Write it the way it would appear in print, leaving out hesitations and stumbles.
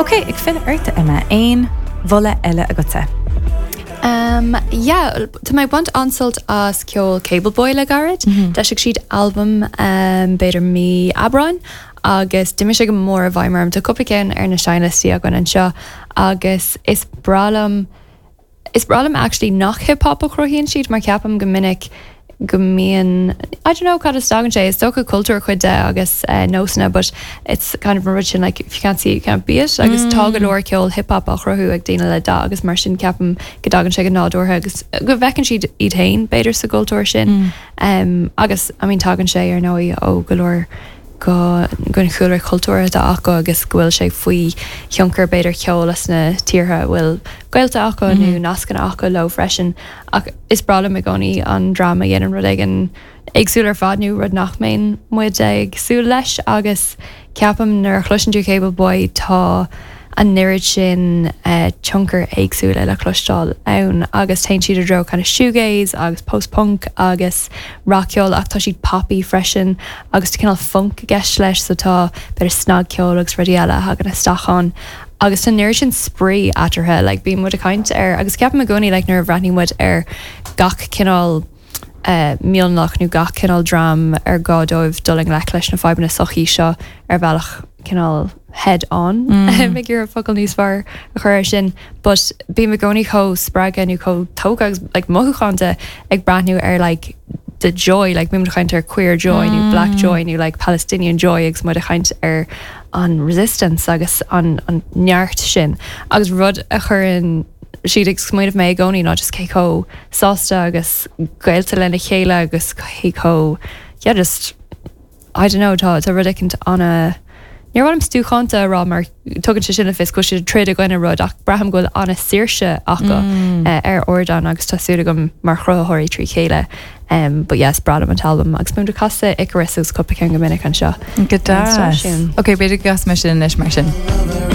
Ok, ag filleadh ort, Emma, aon mholadh eile agatsa? Um, yeah, tá mé ag baint an-sult as ceol Cable Boy le gairid. D'eisigh siad albam um, b'fhéidir mí Aibreáin agus d'imigh sé go mór i bhfeidhm orm. Tá cúpla ceann ar na seinnliostaí againn anseo agus is breá liom Is breá liom actually nach hip hop a chruthaíonn siad mar ceapaim go minic go mbíonn, I don't know cad as a dtagann sé, is dócha cultúr cuid de agus nósanna but it's kind of an rud sin like if you can't see it you can't be it agus tá go leor ceol hip hop á chruthú ag daoine le dath agus mar sin ceapaim go dtagann sé go nádúrtha agus go bhfeiceann siad iad féin b'fhéidir sa gcultúr sin agus I mean tagann sé ar ndóigh ó go leor go den chúlra cultúrtha atá acu agus go bhfuil sé faoi thionchar b'fhéidir ceol as na tíortha a bhfuil gaolta acu nó nascanna acu leo freisin. Ach is breá liom i gcónaí an dream a dhéanann rud éigin éagsúil ar fad nó rud nach mbíonn muid ag súil leis agus ceapaim nuair a chloiseann tú Cable Boy tá an oiread sin tionchar éagsúla le cloisteáil ann agus téann siad i dtreo kind of shoegaze agus post-punk agus rac-cheol ach tá siad poppy freisin agus tá cineál funk i gceist leis so tá b'fhéidir snagcheol agus rudaí eile a thagann isteach ann agus tá an oiread sin spraoi eatarthu like bíonn muid ag caint ar agus ceapaim i gcónaí like nuair a bhreathnaíonn muid ar gach cineál mionlach nó gach cineál dream ar gá dóibh dul i ngleic leis na fadhbanna sochaí seo ar bhealach cineál head on ag iarraidh focal níos fearr a chur air sin but bím i gcónaí chomh spreagtha nó chomh tógtha agus like mothúchánta ag breathnú ar like the joy like bíonn muid ag caint ar queer joy nó black joy nó like Palestinian joy agus muid ag caint ar an resistance agus an an neart sin agus rud a chuireann siad ag smaoineamh mé i gcónaí ná just cé chomh sásta agus gaolta lena chéile agus cé chomh yeah just I don't know tá tá rud éicint ana níor mhaith liom stuacánta a rá mar tugann sé sin le fios go bhfuil siad ag troid i gcoinne rud ach braithim go bhfuil ana saoirse acu ar ardán agus tá súil agam mar chruthaitheoirí trí chéile um, but yes breá liom an t-albam agus bíonn muid ag casadh Icarus agus cúpla ceann go minic anseo. Go deas. Ok, b'fhéidir go gcasfaidh mé sin anois mar sin.